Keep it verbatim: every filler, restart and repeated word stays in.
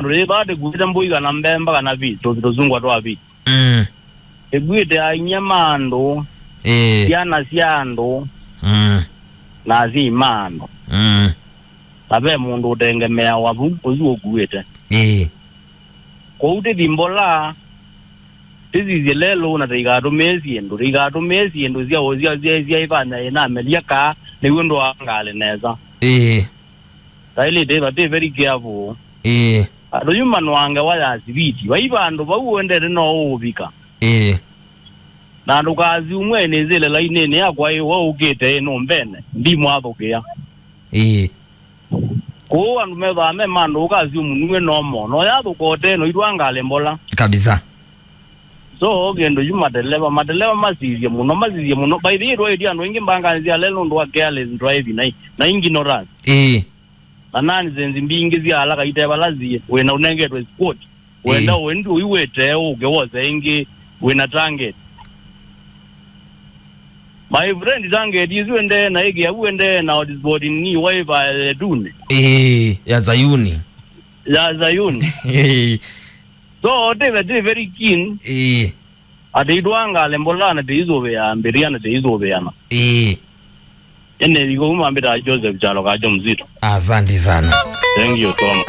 Andũ ĩ vaa tĩkuĩte mbũi kana mbemba kana vi, tũ-, tũsungwa twa vi. Mm. Tĩkuĩte ainyia ma andũ, Ĩĩ. syana sya andũ, Mm. na asyai ma andũ. Mm. Na ve mũndũ ũtengemeawa vu, ũsu ũkuĩte. Ĩĩ. Kwoou tĩthi mbola, tĩsisye lelũ na tĩikatũmĩe syĩndũ, tĩikatũmĩe syĩndũ sya, sya, sya, sya ĩvanya ĩnamelya kaa, nĩw'o ndũangaale nesa. Ĩĩ. Taĩlĩte ĩva, tĩ very careful. Ĩĩ. Andũ yu manũa ngewa ya siviti. Vai vandũ vau ũendete no ũũvika. Ĩĩ. Na ndũkasyumwe nĩsĩle lainĩnĩ yakwa ĩ, we ũkĩte ĩ nũmbene, ndimwathũkĩa. Ĩĩ. Kũu andũ methĩawa me mandũ ũkasyumu nue nomo. No yathũka ũte no itwangale mbola. Kabisa. So, kĩndũ yu mateleva, mateleva masisye mũno, masisye mũno. By the way, twaĩtye andũ aingĩ mbanganĩ sya lelũ nũndũ wa careless driving na, na ignorance. Ĩĩ. Na nonsense mbingĩ sya ala kaite vala siĩ, wĩna ũnengetwe sport. Wenda Ĩĩ. Wendi ũiwĩte ũke wose ĩngĩ wĩna target. My friend, target isu ende na ĩkĩa uende na sport ni waiva edune. Ĩĩ, ya Zayuni. Ya Zayuni. Ĩĩ. So, tĩve, tĩ very keen. Ĩĩ. Atĩ itwangale mbolana tĩisũvĩa mbĩrĩa na tĩisũvĩana. Ĩĩ. Ene iko uma mbĩta Joseph Chalo Kajo Mzito. Asante sana. Thank you so much.